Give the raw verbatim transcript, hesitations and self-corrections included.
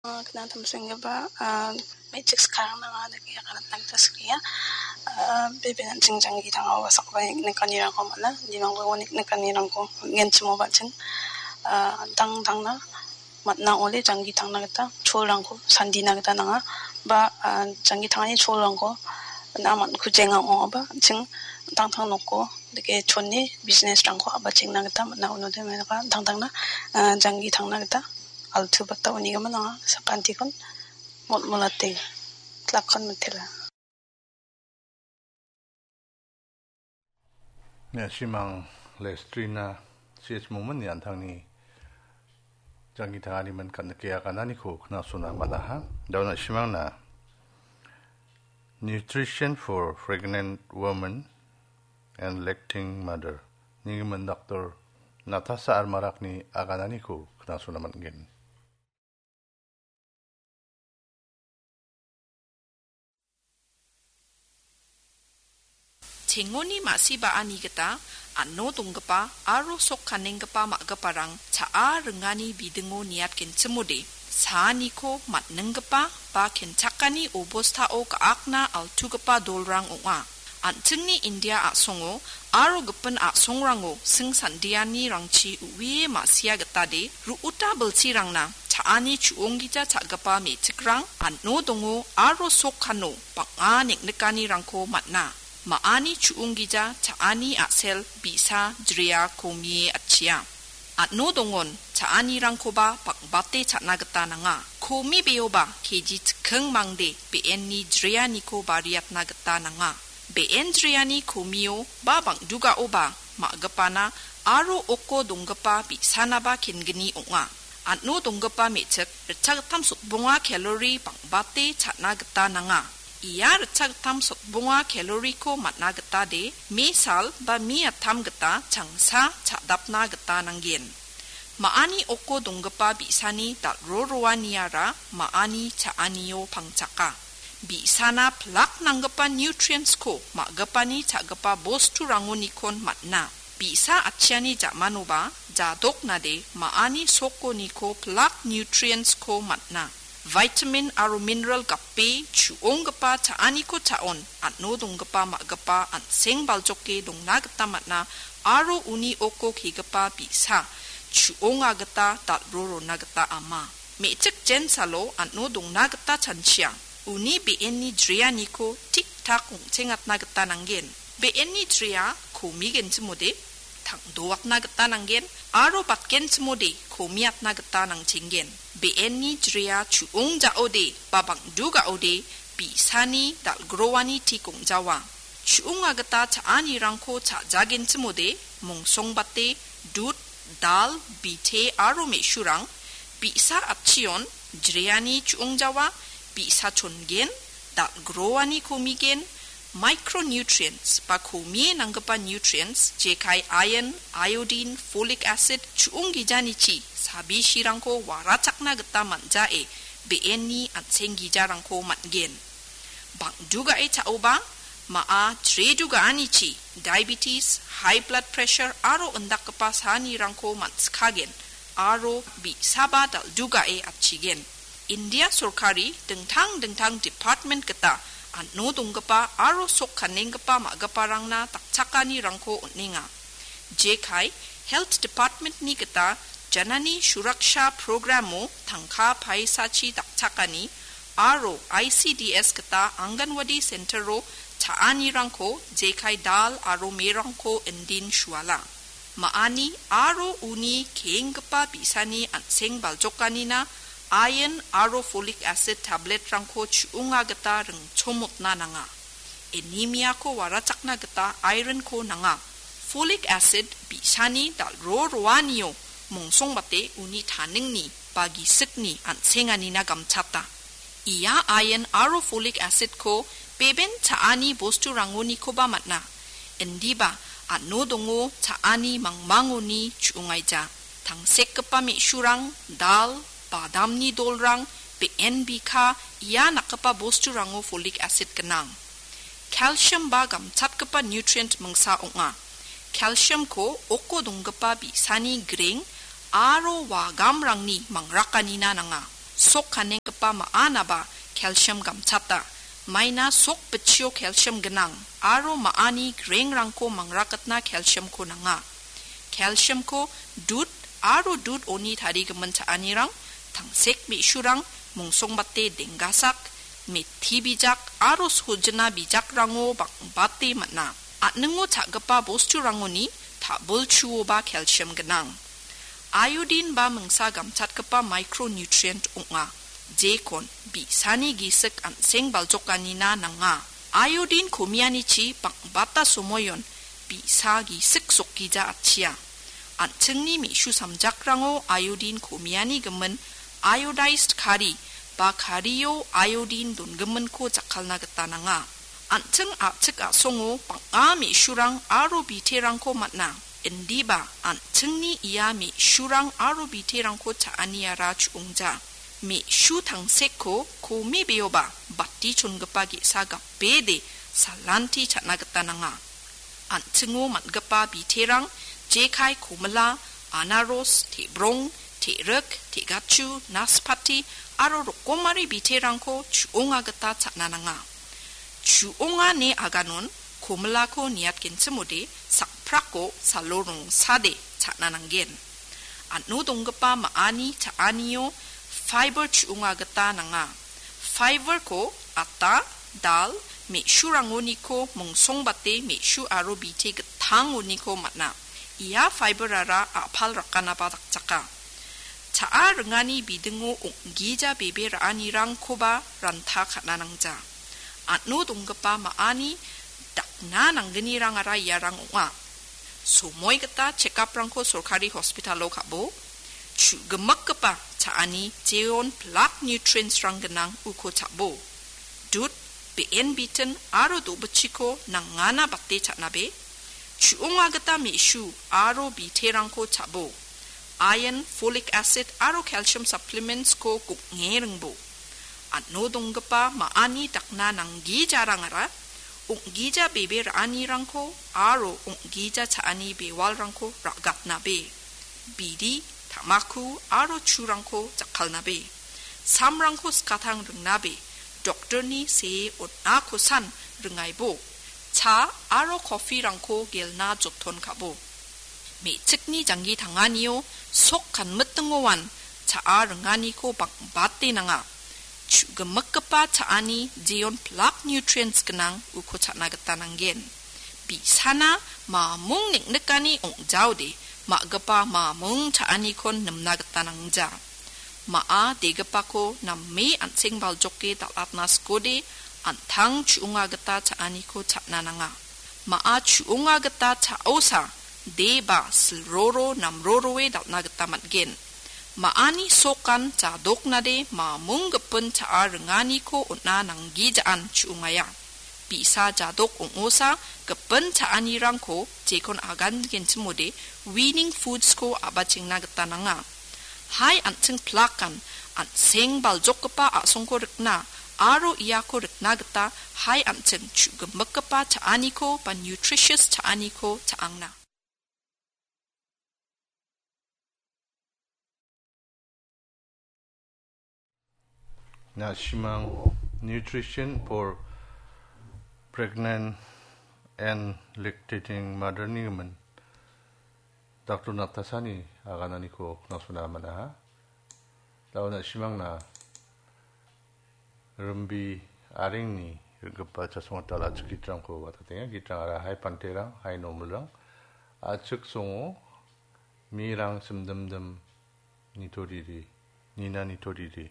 Ah, kna tamsenggipa, ah, me·chik skarang nanga dake aganatna gita skia. Ah, bebe an·ching janggi tangao sakbae nikanirango man·a, nimangbo nikanirango man·genchimo ba·ching, ah, dangdangna man·a ong·ode janggi tangna gita cholrangko sandina gita nanga. Ba, ah, janggi tangani cholrangko man·a man·kujenga ong·aba an·ching dangtang noko dake chone business-rangko a·bachengna gita man·a. Unode menaka dangdangna, ah, janggi tangna gita altu bata unigimin anga sakantikon motmolate. Tlakon mitela. Ia simang Lestrina C H Mongmini an·tangni janggi tangani min kan·ike agananiko knasona man·aha. Dauna simangna Nutrition for Pregnant Women and Lacting Mother nigimin Doctor Natasha Armarakni agananiko knasona man·gen. Chengoni ma·sibani gita an·o donggipa aro sok kanenggipa ma·giparang cha·a ringani bidingo niatgenchimode, saaniko man·ninggipa ba kenchakani obostao ga·akna altugipa dolrang ong·a. An·chingni India a·songo aro gipin a·songrango sing sandiani rangchi uie ma·sia gitade ru·uta bilsirangna cha·ani chu·onggija cha·gipa me·chikrang an·o dongo aro sok kano bang·a neng·nikanirangko man·a. Ma·ani chu·onggija cha·ani a·sel bi·sa jrea komie atchia. An·o dongon cha·anirangkoba bang·bate cha·na gita nanga. Komi beoba K G chikking mangde be·enni jreaniko bariatna gita nanga. Be·en jreani komio ba bang·dugaoba ma·gipana aro oko donggipa bi·sanaba kengni ong·a. An·o donggipa me·chik ritchagittam sotbonga kalori bang·bate cha·na gita nanga. Ia ritchagittam sotbonga kaloriko man·a gitade, me sal ba me attam gita changsa cha·dapna gita nanggen. Ma·ani oko donggipa bi·sani dal·ro roaniara ma·ani cha·anio pangchaka. Bi·sana pilak nanggipa nutrients-ko ma·gipani cha·gipa bosturangonikon man·a. Bi·sa atchiani ja·manoba jadoknade ma·ani sokoniko pilak nutrients-ko man·a. Vitamin aro mineral gape chu·onggipa cha·aniko cha·on an·o donggipa ma·gipa an·seng baljoke dongna gita man·a aro uni oko kegipa bi·sa chu·onga gita dal·ro rona gita ama. Me·chik jensalo an·o dongna gita chanchia. Uni be·enni jreaniko tik-tak ong·chengatna gita nanggen. Be·enni jrea komigenchimode tang·doatna gita nanggen aro batgenchimode komiatna gita nangchenggen. Be·enni jrea chu·ong ja·ode ba bang·du ga·ode bi·sani dal·groani tik ong·jawa. Chu·onga gita cha·anirangko cha·jagenchimode mongsongbate dud, dal, bite aro me·surang bi·sa atchion jreani chu·ong jawa, bi·sa chongen, dal·groani komigen, micronutrients ba komie nanggipa nutrients jekai iron, iodine, folic acid chu·onggijanichi sabisirangko warachakna gita man·jae be·enni an·seng gijarangko man·gen. Bang·dugae cha·oba, ma·a jredugaanichi diabetes, high blood pressure aro indakgipa saanirangko man·sikagen aro bi·saba dal·dugae atchigen. India sorkari dingtang dingtang department gita an·o donggipa aro sok kanenggipa ma·giparangna dakchakanirangko on·enga. Jekai Health Department-ni gita Janani Suraksha Program-o tangka paisachi dakchakani aro I C D S gita Anganwadi Center-o cha·anirangko jekai dal aro merangko indin suala. Ma·ani aro uni keenggipa bi·sani an·seng baljokanina iron aro folic acid tablet-rangko chu·onga gita ringchomotna nanga. Anemia-ko warachakna gita iron-ko nanga. Folic acid bi·sani dal·ro roanio mongsongbate uni taningni ba gisikni an·senganina gamchata. Ia iron aro folic acid-ko beben cha·ani bosturangonikoba man·a. Indiba an·o dongo cha·ani mangmangoni chu·ongaija. Tangsekgipa me·surang, dal, badamni dolrang, be·en bika, ia nakgipa bosturango folic acid gnang. Calcium ba gamchatgipa nutrient mingsa ong·a. Calcium-ko oko donggipa bi·sani greng aro wagamrangni mangrakanina nanga. Sok kanenggipa ma·anaba calcium gamchata. Maina sok bitchio calcium gnang aro ma·ani grengrangko mangrakatna calciumko nanga. Calciumko dud aro dud oni tarigimin cha·anirang, tangsek me·surang, mungsongbate denggasak, methi bijak aro sojina bijakrango bang·bate man·a. An·ningo cha·gipa bosturangoni ta·bilchuoba calcium gnang. Iodine ba mingsa gamchatgipa micronutrient ong·a, jekon bi·sani gisik an·seng baljokanina nanga. Iodine komianichi bang·bata somoion bi·sa gisik sokgija atchia. An·chingni me·su samjakrango iodine komiani gimin iodized kari ba kario iodine dongiminko jakkalna gita nanga. An·ching a·chik a·songo bang·a me·surang aro biterangko man·a. Indiba an·chingni ia me·surang aro biterangko cha·aniara chu·ongja. Me·su tangsekko komibeoba bati chongipa ge·sa gapede salanti cha·na gita nanga. An·chingo man·gipa biterang jekai komila, anaros, te·brong, te·rik, te·gachu, naspati aro rokomari biterangko chu·onga gita cha·na nanga. Chu·onga ne aganon komilako niatgenchimode sakprako salo rongsade cha·na nanggen. An·o donggipa ma·ani cha·anio fiber chu·onga gita nanga. Fiberko ata, dal, me·surangoniko mungsongbate me·su aro bite gittangoniko man·a. Ia fiberara a·pal rakanaba dakchaka. Cha·a ringani bidingo ong·gija bebe ra·anirangkoba ranta ka·na nangja. An·o donggipa ma·ani dakna nanggnirangara iarang ong·a. Somoi gita checkup-rangko sorkari hospitalo ka·bo. Chu·gimikgipa cha·ani jeon plak nutrients-rang gnang uko cha·bo. Dud, be·en bitin aro do·bichiko nangana bate cha·nabe. Chu·onga gita me·su aro biterangko cha·bo. Iron, folic acid aro calcium supplements-ko gong·e ringbo. An·o donggipa ma·ani dakna nanggijarangara ong·gija bebe ra·anirangko aro ong·gija cha·ani bewalrangko ra·gatnabe. Bidi, tamaku aro churangko jakkalnabe. Samrangko skatang ringnabe. Doktorni see on·akosan ringaibo. Cha aro coffee-rangko gelna joton ka·bo. Me·chikni janggi tanganio sok kanmitingoan cha·a ringaniko bang·bate nanga. Chu·gimikgipa cha·ani jeon plak nutrients gnang uko cha·na gita nanggen. Bi·sana mamung neng·nikani ong·jaode ma·gipa mamung cha·anikon nimna gita nangja. Ma·a degipako name an·seng baljoke dal·atna sikode an·tang chu·onga gita cha·aniko cha·na nanga. Ma·a chu·onga gita cha·osa de ba silroro namroroe dal·na gita man·gen. Ma·ani sokan jadoknade mamung gipin cha·a ringaniko on·a nanggijaan chu·ongaia. Bi·sa jadok ong·osa gipin cha·anirangko jekon agangenchimode weaning foods-ko a·bachengna gita nanga. Hai an·ching plakan an·seng baljokgipa a·songko rikna aro iako rikna gita hai an·ching chu·gimikgipa cha·aniko ba nutritious cha·aniko cha·angna. Na·simang Nutrition for Pregnant and Lactating Mother-ni gimin Doctor Natasha-ni agananiko knaksona man·aha. Da·o na·simangna rimbi arengni rim·gipa chasongata la·chik gitrangko wa·tatenga. Gitrangara hai panterang, hai nomilrang, a·chik songo mirang simdimdim nitoriri, nina nitoriri,